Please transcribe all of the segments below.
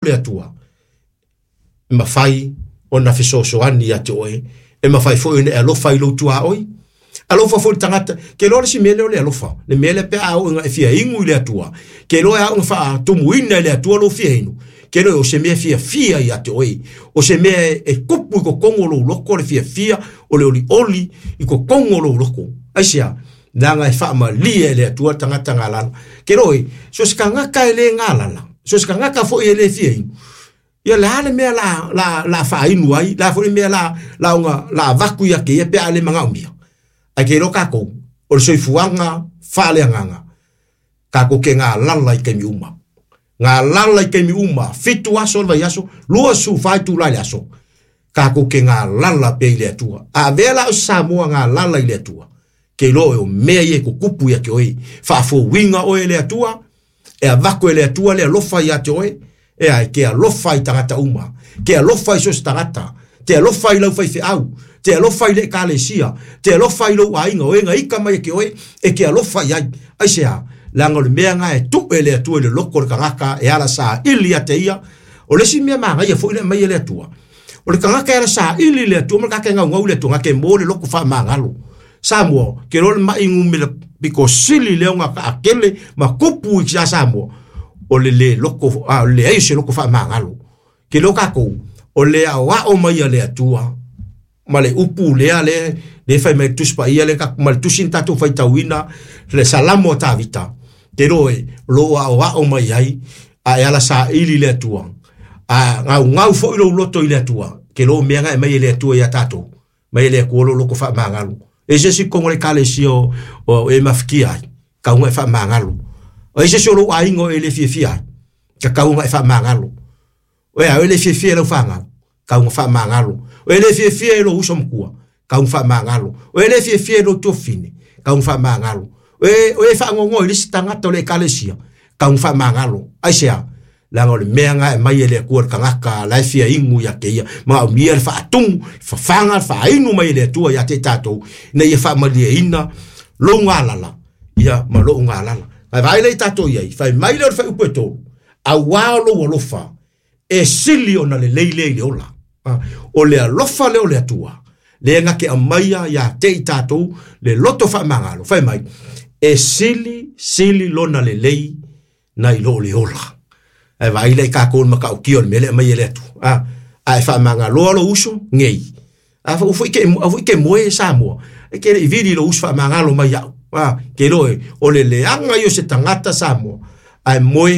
Le Atua, e mafai ona fesoasoani ia te oe, e mafai foi ona e alofa i lou tuaoi, alofa foi i le tagata. Ke iloa le isi mea lea o le alofa, le mea lea pe a oo ina e fia inu i le Atua, ke iloa e ao ona faatumuina e le Atua lou fia inu, ke iloa o se mea fiafia ia te oe, o se mea e tupu i totonu o lou loto le fiafia o le olioli i totonu o lou loto. Aisea? Leaga e faamalie e le Atua le tagata galala. Ke iloa oe, so o se tagata e le galala, so o se tagata foi e le fia inu, ia le a le mea la la la faainu ai, le a foi le mea la la ona la avatu ia te ia pe a le manaomia. Ae ke iloa tatou, o le soifuaga faaleagaga, tatou te galala i taimi uma. Galala i taimi uma, 7 aso o le vaiaso, 24 itula i le aso, tatou te galala pea i le Atua. A avea la o se Samoa galala i le Atua, ke iloa oe o mea ia e tutupu ia te oe, faafouina oe e le Atua, e avatu e le Atua le alofa ia te oe, e ai, ke alofa i tagata uma, ke alofa i so o se tagata, te alofa i lau faifeau, te alofa i le ekalesia, te alofa i lou aiga, o e na ika mai e ke oe, e ke alofa i ai. Aisea? Leaga o le mea na e tuu e le Atua i le loto o le tagata e ala saili ia te ia. O le isi mea manaia foi le aumai e le Atua, o le tagata e ala saili i le Atua ma le tagata e gaugau i le Atua, na te mo le loto faamagalo. Samoa, ke loa le mai numera pito sili lea ona taatele ma tupu i ia Samoa, o le le loko, a, o le leai o se loko faamagalo. Ke loa tatou, o le aoao mai a le Atua, ma le upu lea le le fai mai le Tusi Paia le ma le tusi na tatou faitauina, le Salamo a Tavita, te loa e, o lo o aoao mai ai, a e ala saili i le Atua, a gaugau foi lou loto i le Atua, ke loa o mea na e aumai e le Atua ia tatou, mai e le Atua lou loto faamagalo. E se isi totonu o le ekalesia o e mafatia ai, tatau ona e faamagalo. O ai se isi o lou aiga o e le fiafia ai, tatau ona e faamagalo. O ea, o e le fiafia i lau fanau, tatau ona faamagalo. O e le fiafia i lou uso matua, tatau ona faamagalo. O e le fiafia i lou tuafafine, tatau ona faamagalo. O e faanoanoa i le isi tagata o le ekalesia, tatau ona faamagalo. Aisea? Leaga o le mea na e aumai e le Atua i le tagata la e fia inu ia te ia, manaomia le faatumu, le fafaga, le faainu mai e le Atua ia te i tatou, ina ia faamalieina lou galala, ia ma lou galala. Ae vaai lea i tatou i ai, fai mai lea o le fuaiupu e 3, auā o lou alofa, e sili ona lelei lea i le ola. O le alofa lea o le Atua, lea na te aumaia ia te i tatou le loto faamagalo, fai mai, e sili, sili lona lelei nai lo le ola. Ae vaai lea i tatou le matautia o le mea lea e aumai e le Atua. A e faamagaloa lou uso, nei. A foi ke, a foi ke moe Samoa, e ke le i vili lou uso faamagalo mai au. A, ke iloa e, o le leaga ia o se tagata Samoa, ae moe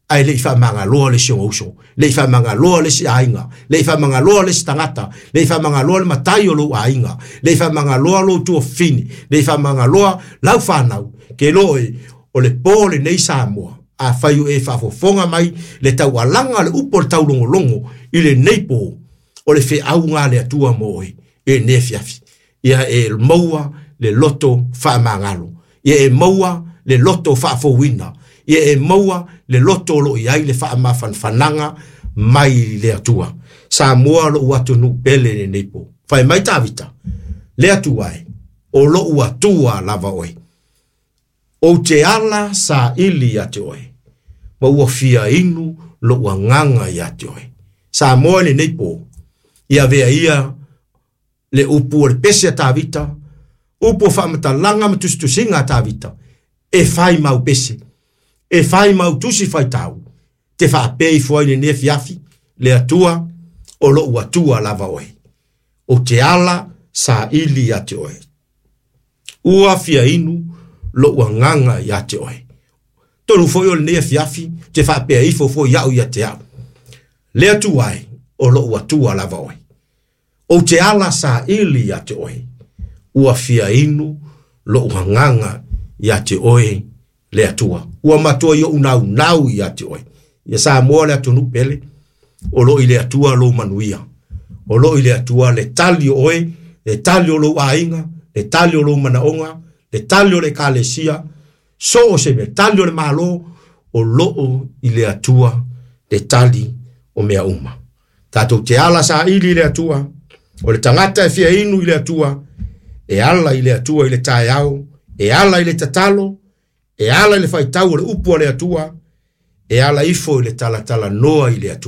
ae le i faamagaloa le isi ona uso, le i faamagaloa le isi aiga, le i faamagaloa le isi tagata, le i faamagaloa le matai o lou aiga, le i faamagaloa lou tuafafine, le i faamagaloa lau fanau, ke iloa e, o le po lenei Samoa, afai o e faafofoga mai le taualaga o le upu o le taulogologo i lenei po, o le feauga a le Atua mo oe i lenei afiafi. Ia e maua le loto faamagalo. Ia e maua le loto faafouina. Ia e maua le loto o lo o i ai le faamafanafanaga mai le Atua. Samoa lou atunuu pele i lenei po. Fai mai Tavita, Le Atua e, o lou Atua lava oe. Ou te ala saili ia te oe, ma ua fia inu lou agaga ia te oe. Samoa i lenei po, ia avea ia le upu o le pese a Tavita, upu o faamatalaga ma tusitusiga a Tavita, e fai mau pese, e fai mau tusi faitau, te faapea ifo ai i lenei afiafi, Le Atua, o lou Atua lava oe. Ou te ala saili ia te oe. Ua fia inu lou agaga ia te oe. Tonu foi o lenei afiafi, te faapea ifo foi au ia te au. Le Atua e, o lou Atua lava oe. Ou te ala saili ia te oe. Ua fia inu lou agaga ia te oe, le Atua. Ua matua i ou naunau ia te oe. Ia Samoa le atunuu pele, o lo o i le Atua lou manuia. O lo o i le Atua le tali o oe, le tali o lou aiga, le tali o lou manaoga, le tali o le ekalesia, so o se mea, tali o le Malo, o lo o i le Atua le tali o mea uma. Tatou te ala saili i le Atua, o le tagata e fia inu i le Atua, e ala i le Atua i le taeao, e ala i le tatalo, e ala i le faitau o le upu a le Atua, E ala ifo i le talatalanoa i le Atua.